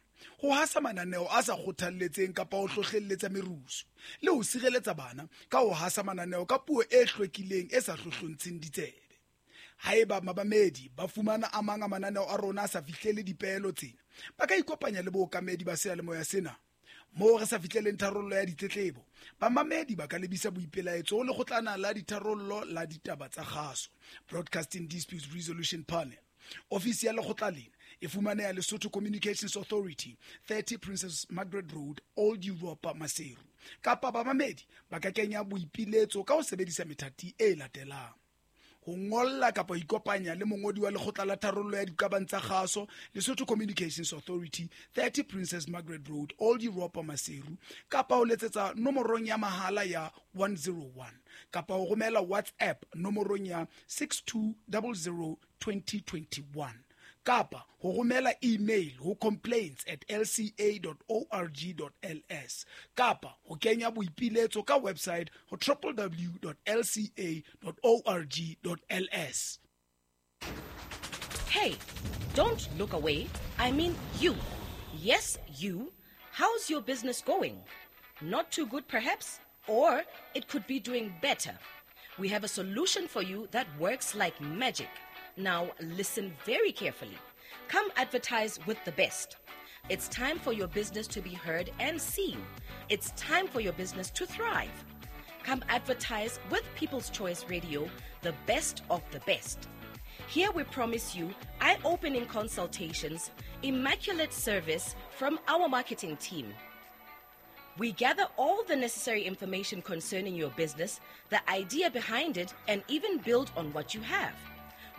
ho hasa mananeo a sa kgothalletseng kapa ho hlohlelletsa merusu le ho sireletsa bana ka ho hasa mananeo ka puo e hlwekileng e sa hlohlontsheng ditsebe haeba mabamedi ba fumana a mang a mananeo a rona a sa fihlele dipeelo tsena ba ka ikopanya le bookamedi ba seyalemoya sena Moo re sa fihleleng tharollo ya ditletlebo, bamamedi ba ka lebisa boipelaetso ho lekgotlana la ditharollo la ditaba tsa kgaso, Broadcasting Disputes Resolution Panel. Ofisi ya lekgotla lena e fumaneha Lesotho Communications Authority, thirty Princess Margaret Road, Old Europa, Maseru. Kapa bamamedi ba ka kenya boipiletso ka ho sebedisa methati e latelang: ho ngolla kapa ho ikopanya le mongodi wa lekgotla la tharollo ya diqabang tsa kgaso, Lesotho Communications Authority, thirty Princess Margaret Road, Old Europa, Maseru, kapa ho letsetsa nomorong ya mahala ya one zero one, kapa ho romela WhatsApp nomorong ya six two zero zero twenty twenty-one, kapa ho romela email ho complaints at l c a dot org dot l s, kapa ho kenya boipiletso ka website ho w w w dot l c a dot org dot l s. Hey, don't look away. I mean you. Yes, you. How's your business going? Not too good, perhaps? Or it could be doing better. We have a solution for you that works like magic. Now, listen very carefully. Come advertise with the best. It's time for your business to be heard and seen. It's time for your business to thrive. Come advertise with People's Choice Radio, the best of the best. Here we promise you eye-opening consultations, immaculate service from our marketing team. We gather all the necessary information concerning your business, the idea behind it, and even build on what you have.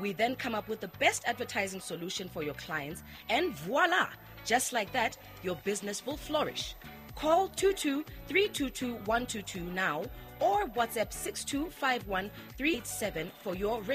We then come up with the best advertising solution for your clients, and voila! Just like that, your business will flourish. Call two two three two two one two two now or WhatsApp six two five one three eight seven for your